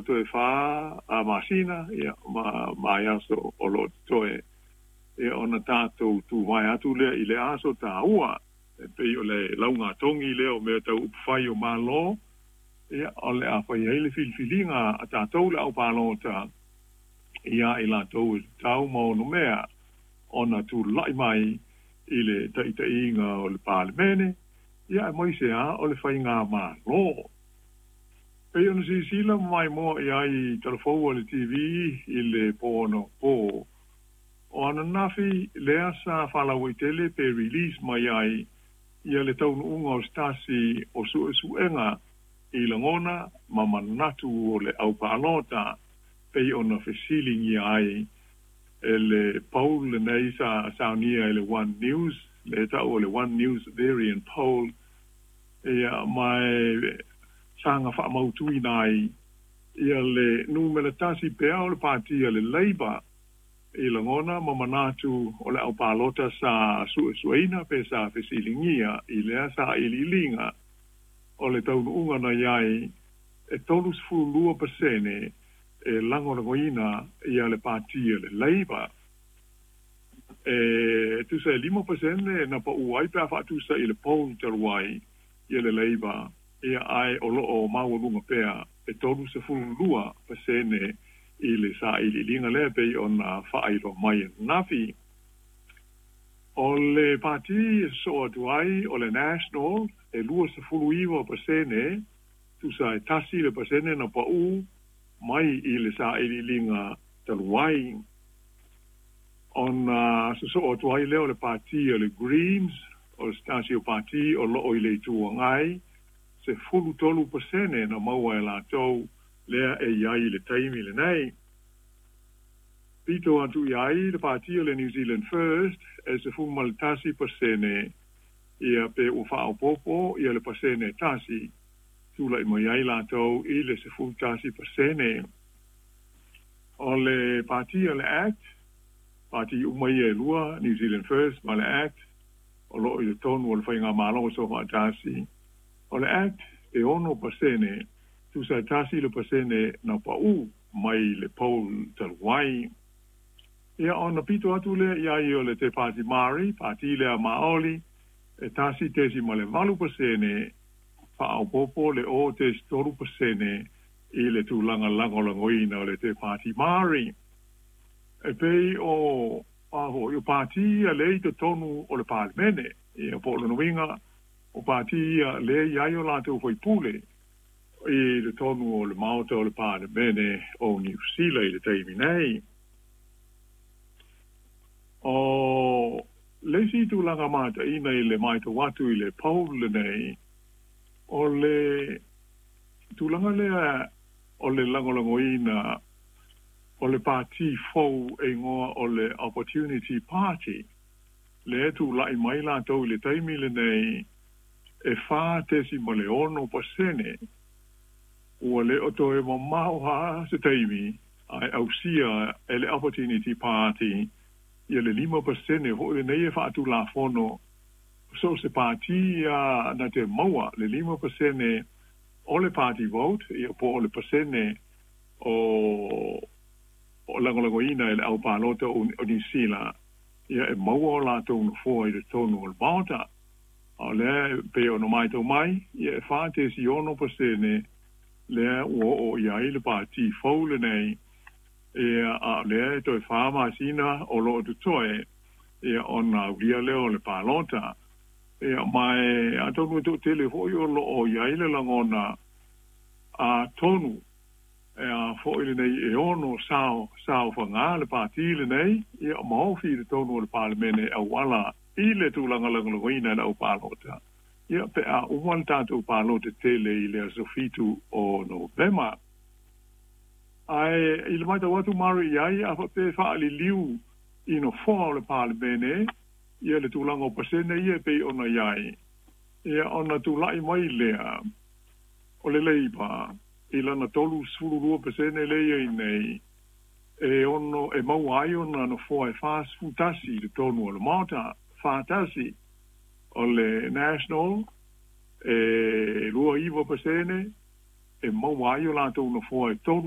Ua toe 4 masina ia ma vaiaso o loo totoe ia ona tatou tuvae atu lea i le aso taua e pei o le laugatogi lea o mea tau upufai o Malo ia o le a fai ai le filifiliga a tatou le aupalota ia i latou e tatau ma onomea ona tula'i mai i le taʻitaʻiga o le Palemene ia aemaise a o le faigamalo. Pei ona silasila ma maimoa i ai i talafou a le TV i le po anapo o ananafi lea sa faalauaitele pe release mai ai ia le taunuuga o se tasi o suesuega i lagona ma manatu o le aupalota pei ona fesiligia ai e le poll lenei sa saunia e le One News, le ta'u o le One News Verian Poll ia ma e saga faamautuina ai ia le numera tasi pea o le Pati a le Labour i lagona ma manatu o le aupalota sa suesueina pe sa fesiligia i lea sailiiliga. O le taunuuga na i ai e 32% e lagolagoina ia le Pati a le Labour, e tusa e 5% na pa'u ai pe a faatusa i le poll talu ai ia le Labour ia, ae o loo maualuga pea e 32% i le sailiiliga lea pei ona faailoa mai ananafi. O le pati e sosoo atu ai o le National e 29%, tusa e 1% na pa'u mai i le sailiiliga talu ai. Ona sosoo atu ai lea o le Pati o le Greens, o se tasi o pati o loo i le Itu Agai, 13% na maua e latou lea e i ai i le taimi lenei. Pito atu i ai le Pati o le New Zealand First e 11% ia pe ua faaopoopo ia le pasene 1, tula'i mai ai latou i le 11%. O le Pati o le ACT, pati uma ia e lua, New Zealand First ma le ACT, o loo i le tonu o le faigamalo o faatasi. O le ACT e 6%, tusa e 1% na pa'u mai le poll talu ai. Ia ona pito atu lea i ai o le Te Pāti Māori, pati lea Maoli, e 1.8%, faaopoopo le 0.3% i le tulaga lagolagoina o le Te Pāti Māori. E pei o a foi o pati ia lea i totonu o le Palemene ia, po o lona uiga o pati ia lea i ai o latou faipule i totonu o le Maota o le Palemene o Niu Sila i le taimi nei. O le isi tulaga mataina i le matau atu i le poll lenei, o le tulaga lea o le lagolagoina o le pati fou e igoa o le Opportunity Party, lea tula'i mai latou i le taimi lenei e 4.6%. Ua le o toe mamao lava se taimi ae ausia e le Opportunity Party ia le 5% fo'i lenei e faatulafono. So se pati ia na te maua le 5% o le party vote ia po o le pasene o lagolagoina e le aupalota o Niu Sila ia e maua o latou nofoa i totonu o le Maota. A o lea pei ona matau mai ia e 4.6% lea ua oo i ai le pati fou lenei ia, a o lea e toe 4 masina o loo totoe ia ona aulia lea o le palota ia. Ma e atonu e toatele fo'i o loo i ai le lagona atonu e a fo'i lenei e ono sao saofagā le pati lenei ia ma ofi i totonu o le Palemene auala i le tulaga lagolagoina e le aupalota ia pe a uma le tatou palota tele i le aso 7 o Novema. Ae i le matau atu Mari i ai a faapea faaliliu i nofoa o le Palemene ia le tulaga o pasene ia e pei ona i ai ia, ona tula'i mai lea o le Labour i lana 32% lea i ai nei e ono e maua ai ona nofoa e 41 i totonu o le Maota 41. O le National e 29% e maua ai o latou nofoa e